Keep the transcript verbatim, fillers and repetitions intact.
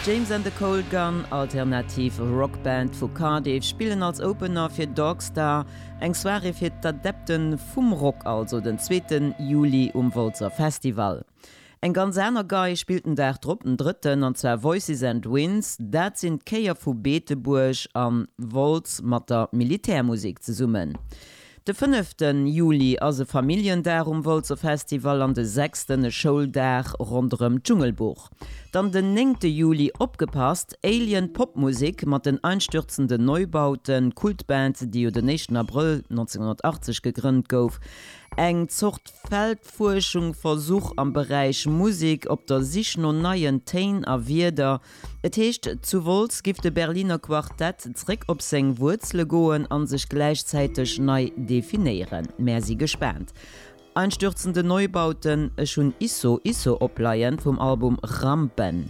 James and the Cold Gun, alternativ Rockband vu Cardiff, spillen als Opener fir Dogstar, eng Soirée fir d'Adepte vum Rock also den zweeten Juli um Wolzer Festival. Eng ganz aner Gei spillt den Dag drop, den drëtten, an zwar Voices and Winds, dat sinn d'Chéier vu Beetebuerg a Wolz mat der Militärmusek zesummen. De fënneften Juli ass e Familljendag um Wolzer Festival an de sechsten e Schouldag ronderëm d'Dschungelbuch. Dann den néngte Juli, opgepasst, Alien Popmusek mat den Einstürzenden Neubauten, Kultband, déi jo den éischten Abrëll nonzénghonnertachtzeg gegrënnt gouf. Eng Zort Feldfuerschung, Versuch am Beräich Musek, op der Sich no neien Téin a Wierder. Et heescht, zu Wolz giff de Berliner Quartett zréck op seng Wuerzele goen a sech gläichzäiteg nei definéieren. Mär si gespaant. Einstürzende Neubauten, ech hunn Isso Isso opleien vum Album Rampen.